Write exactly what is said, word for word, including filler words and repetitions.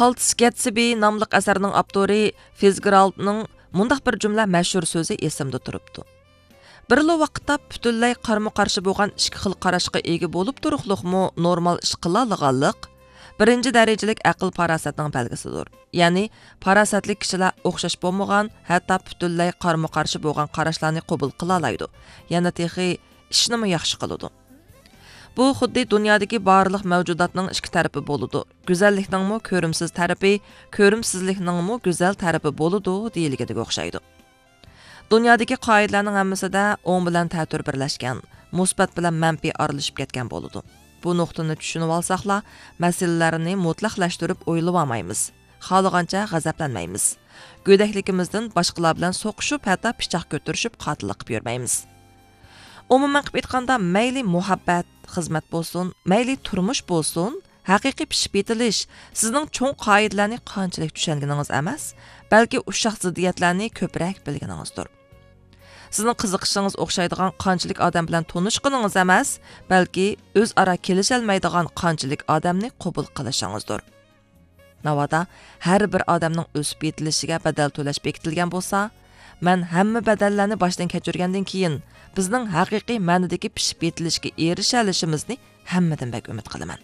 قالتىس گەتسبى ناملىق ئەسەرنىڭ ئاپتورى فىزگېرالدنىڭ مۇنداق بىر جۈملە مەشھۇر سۆزى ئېسىمدە تۇرۇپتۇ: بىرلا ۋاقىتتا پۈتۈنلەي قارىمۇ قارشى بولغان ئىككى خىل قاراشقا ئىگە بولۇپ تۇرۇقلۇقمۇ نورمال ئىش قىلالىغانلىق بىرىنچى دەرىجىلىك ئەقىل پاراسەتنىڭ بەلگىسىدۇر. يەنى پاراسەتلىك كىشىلەر ئوخشاش بولمىغان، ھەتتا پۈتۈنلەي قارىمۇ قارشى بولغان قاراشلارنى قوبۇل قىلالايدۇ. يەنە تېخى ئىشنىمۇ ياخشى قىلىدۇ. بۇ خۇددى دۇنيادىكى بارلىق مەۋجۇداتنىڭ ئىككى تەرىپى بولىدۇ. گۈزەللىكنىڭمۇ كۆرۈمسىز تەرىپى، كۆرۈمسىزلىكنىڭمۇ گۈزەل تەرىپى بولىدۇ دېيىلگىنىگە ئوخشايدۇ. دۇنيادىكى قائىدىلەرنىڭ ھەممىسىدە ئوڭ بىلەن تەتۈر بىرلەشكەن، مۇسبەت بىلەن مەنپىي ئارىلىشىپ كەتكەن بولىدۇ. بۇ نۇقتىنى چۈشىنىۋالساقلا، مەسىلىلەرنى مۇتلەقلەشتۈرۈپ ئويلىۋالمايمىز، خالىغانچە غەزەپلەنمەيمىز. گۆدەكلىكىمىزدىن باشقىلار بىلەن سوقۇشۇپ، ھەتتا پىچاق كۆتۈرۈشۈپ، قاتىللىق قىلىپ يۈرمەيمىز. ئومۇمەن قىلىپ ئېيتقاندا، مەيلى مۇھەببەت، خىزمەت بولسۇن، مەيلى تۇرمۇش بولسۇن، ھەقىقىي پىشىپ يېتىلىش سىزنىڭ چوڭ قائىدىلەرنى قانچىلىك چۈشەنگىنىڭىز ئەمەس، بەلكى ئۇششاق زىددىيەتلەرنى كۆپرەك بىلگىنىڭىزدۇر. سىزنىڭ قىزىقىشىڭىز ئوخشايدىغان قانچىلىك ئادەم بىلەن تونۇشقىنىڭىز ئەمەس، بەلكى ئۆزئارا كېلىشەلمەيدىغان قانچىلىك ئادەمنى قوبۇل قىلىشىڭىزدۇر. ناۋادا ھەر بىر ئادەمنىڭ ئۆسۈپ يېتىلىشىگە بەدەل تۆلەش بېكىتىلگەن بولسا، مەن ھەممە بەدەللەرنى باشتىن كەچۈرگەندىن كېيىن، بىزنىڭ ھەقىقىي مەنىدىكى پىشىپ يېتىلىشكە ئېرىشەلىشىمىزنى ھەممىدىن بەك ئۈمىد قىلىمەن.